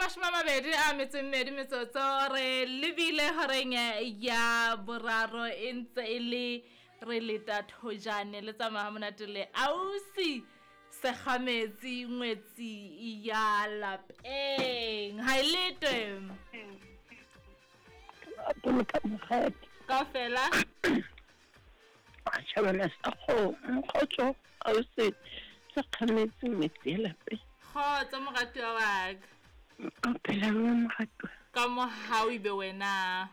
22 metsotso re lebile horeng ya boraro e ntse e le re leta thojane le tsamaya monate le ausi segametsi ngwetsi ya lapeng ha e letwe boloka mokgadi kaofela tšhabana sa kgomo kgotso ausi sekgametse ngwetsi ya lapeng kgotso moratuwa wa ka o phela jwang moratuwa ka mohau ebe wena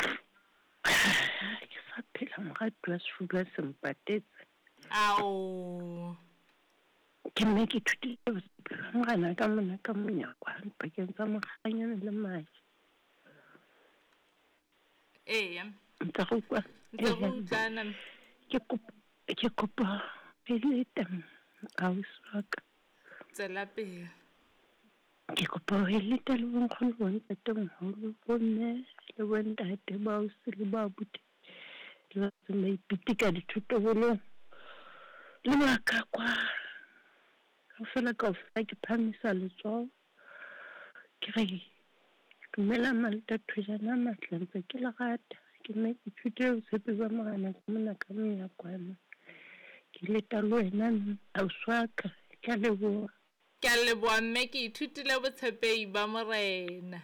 ke sa phela moratuwa sefuba se mpatetse ao ke mme ke ithutile bophelo morena ka mona ka monyakwa pakeng tsa mokganyana le madi eya ntse go kwa ntse go utlwana ke kopa ke kopa eleta ausi wa ka tswela pele ke kopa ho eleta le bonkgono bontatemoholo bomme le bontate baausi le baabuti le ba ntseng ba ipitika dithotobolong le ba ka kwa kaofela kaofela ke phahamisa letsoho Ke re, Dumelang Malta Thojana a matle, ntse ke le rata. Ke nna ke ithutile botshepi ba Morena ka mona ka monyakwana. Ke leta le wena ausi wa ka. Ke a leboha. Ke a leboha mme, ke ithutile botshepehi ba Morena.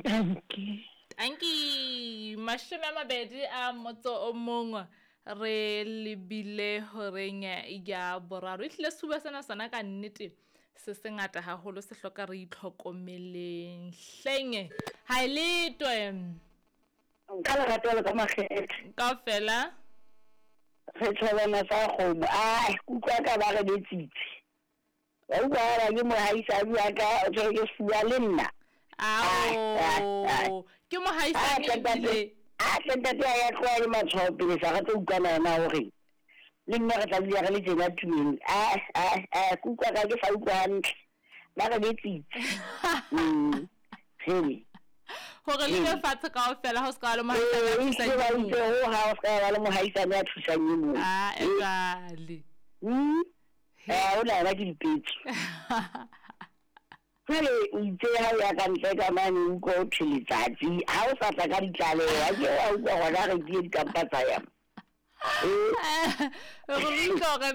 Dankie. Dankie. 21 re lebile horeng ya boraro. Ehlile sefuba sena sona ka nnete se sengata haholo se hloka re itlhokomeleng. Hleng ha e letwe. Ka lerato le ka makgethe. Kaofela. Re tjhobana sa kgomo. Ai, utlwa ka ba re betsitse. Wa utlwa ha ke mohaisane wa ka o tshwere ke sefuba le nna. Ao, ke mohaisane ebile. A tle ntate a ya tloha le matshwao pele sa re tlo utlwana yona hore le nna re tla dula re le tjena tumeng. A a a ke utlwa ka ke sa utlwa hantle. Ba re betsitse. Mm. Hele. Hore le be fatshe kaofela ha o se ka ba le mohaisane a thusang e mong. Ho ha o se ka ba le mohaisane a thusang e mong. Ah, e jwale. Mm. Eh, o na ke dipetso. Jwale o itse ha o ya ka ntle ka mane o utlwa o thwe letsatsi ha o sa tla ka ditlaleho ha ke wa utlwa gona re ke dikampa tsa ya. Re utlwa hore na